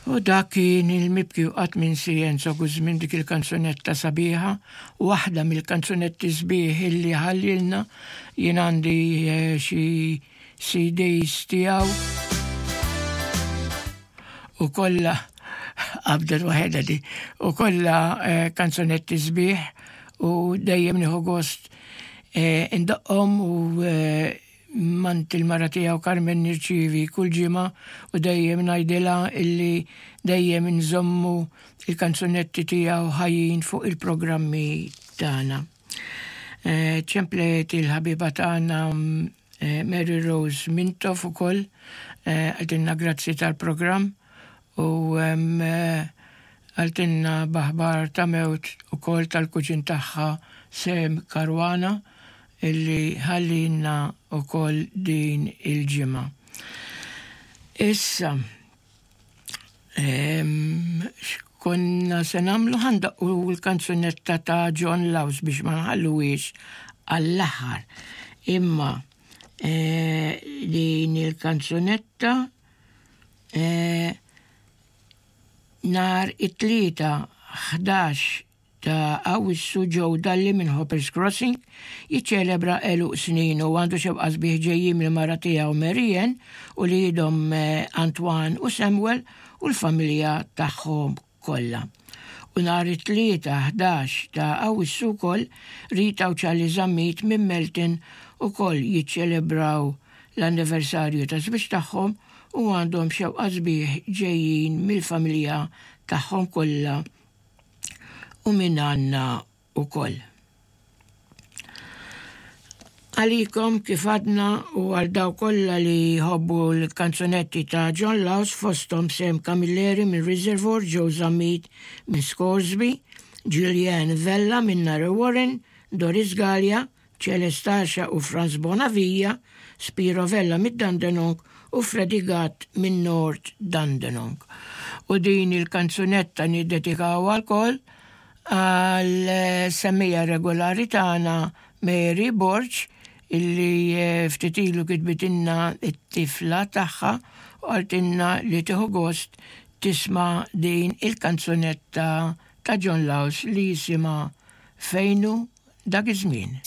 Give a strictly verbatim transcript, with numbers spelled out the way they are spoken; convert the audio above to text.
U dak kien il-mibki u qatt minsi Enzo Guzmin, dik il-kanzunetta sabiħa, waħda mill-kanzunetti sbieħ illi ħallilna. Jien għandi eh, xi C Ds tiegħu u kollha qabdet waħedha di u kollha eh, kanzunetti sbieħ u dejjem nieħu gost eh, indoqqhom u mingħand il-mara tiegħu Carmen nirċivi kull ġimgħa u dejjem ngħidilha illi dejjem nżommu il-kanzunetti tiegħu ħajjin fuq il-programmi tagħna. Eh, ċemplet il-ħabiba tagħna eh, Mary Rose Mintoff ukoll, eh, qaltilna grazzi tal-programm u qaltilna b'aħbar ta' mewt ukoll tal-kuġin tagħha Sam Caruana illi ħallina ukoll din il-ġimgħa. Issa, x'konna se nagħmlu? Ħa ndaqqu l-kanzunetta ta' John Laus biex ma nħalluhiex għall-aħħar. Imma eh, din il-kanzunetta eh, nhar it-Tlieta ħdax ta' Awwissu Joe Dalli minn Hoppers Crossing jiċċelebra għeluq snin u għandu xewqa sbieħ ġejjin mill-mara tiegħu Marianne u wliedhom eh, Antoine u Samuel u l-familja tagħhom kollha. U nhar it-Tlieta ħdax ta' Awwissu wkoll Rita u Charlie Zammit minn Melton ukoll jiċċelebraw l-anniversarju ta' żwieġ tagħhom u għandhom xewqa sbieħ ġejjin mill-familja tagħhom kollha u minn għandna ukoll. Għalikom kif għadna u għal dawk kollha li jħobbu l-kanzunetti ta' John Laus, fosthom Sam Camilleri minn Reservoir, Joe Zammit minn Scoresby, Julian Vella minn Narre Warren, Doris Gallia, Celestasha u Franz Bonavia, Spiro Vella minn Dandenong u Freddy Gatt minn North Dandenong. U din il-kanzunetta niddedikaw għal għal semmiegħa regolari tagħna Mary Borg illi eh, ftit ilu kitbitilna it-tifla tagħha u qaltilna li tieħu gost tisma' din il-kanzunetta ta' John Laus li jisimha "Fejnu Dak iż-Żmien".